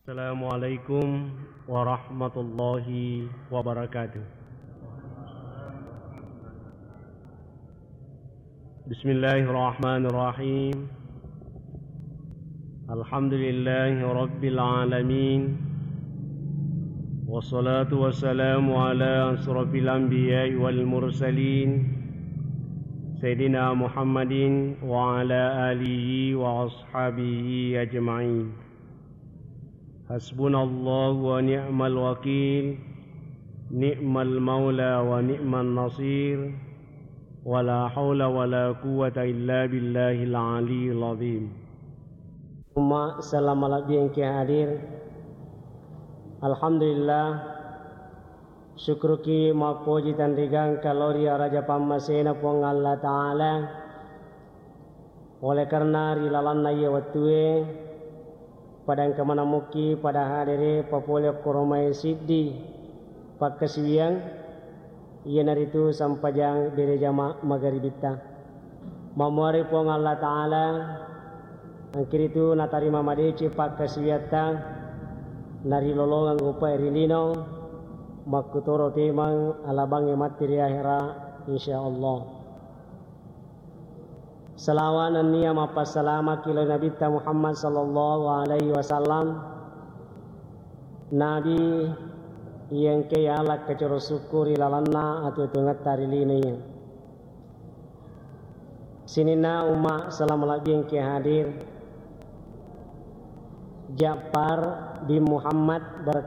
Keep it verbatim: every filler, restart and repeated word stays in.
Assalamualaikum warahmatullahi wabarakatuh. Bismillahirrahmanirrahim. Alhamdulillahi rabbil alamin. Wassalatu wassalamu ala asrafil anbiya'i wal mursalin, Sayyidina Muhammadin wa ala alihi wa ashabihi ajma'in. Hasbunallahu wa ni'mal wakil, ni'mal maula wa ni'man nasir, wa la haula wa la quwwata illa billahil aliyyil azim. Umma salama labbi engke hadir. Alhamdulillah, syukruki mappoji tanrigangka lao ri araja pammasena Puang Allah Ta'ala. Oleh karena ri lalanna iye wettue, pada engka maneng mukki pada hadere papole okkoro mae siddi pakkasiwiang, iyanaritu sampajang bere jama magaribitta. Mamuare Puang Allah Ta'ala, angkiritu natarima madeceng pakkasiwiatta, narilolongeng upae ri lino, makkutoro pemeng alabangnge matti ri ahera, insyaallah. Salawa nennia mappassalamaki lao Nabitta Muhammad sallallahu alaihi wasallam, Nabi iya engkae yala kacoro sukku ri lalanna atuwetungetta ri lino iya. Sininna umma salama labbi engke hadir, Ja'far bin Muhammad ber-